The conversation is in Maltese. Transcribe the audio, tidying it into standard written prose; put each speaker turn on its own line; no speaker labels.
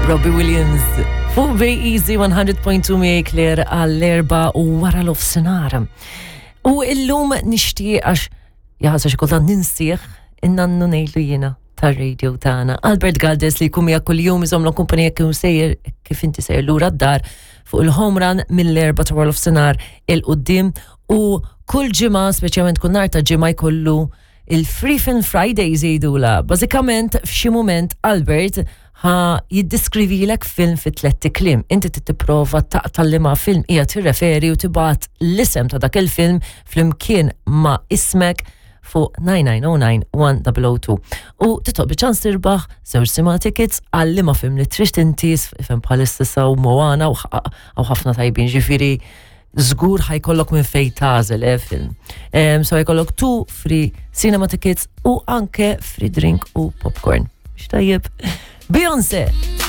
Robbie Williams fuq Bay Easy 100.2 miegħi Claire għall-erba u wara l-ofsinhar. U illum nixtieq għax jaħasra xi kultant ninsieħ in-nannu ngħidlu jiena tar-radio tagħna. Albert Galdes li jkun miegħek kuljum iżommlok kumpanija kif sejjer kif inti sejjer lura d-dar fuq il-home run mill-erba ta' wara l-ofsinhar il-qudiem u kull ġimgħa speċjalment kull nhar ta' ġimgħa jkollu il-Free Film Fridays jgħidula. Bażikament f'xi mument Albert ħa jiddiskrivilek film fi tlett kliem. Inti tipprova taqta' liema film hija tirreferi u tibgħat l-isem ta' dak il-film flimkien ma' ismek fuq 9909-1002. U titob ċans tirbaħ żewġ cinema tickets għal liema film li trid inti ifhem bħalissa saw Moana u ħafna tajbin ġifieri żgur ħajkollok minn fej tagħżel eh, film. Um, so ħajkollok two free cinema tickets u anke free drink u popcorn. Xtajjeb. Beyoncé!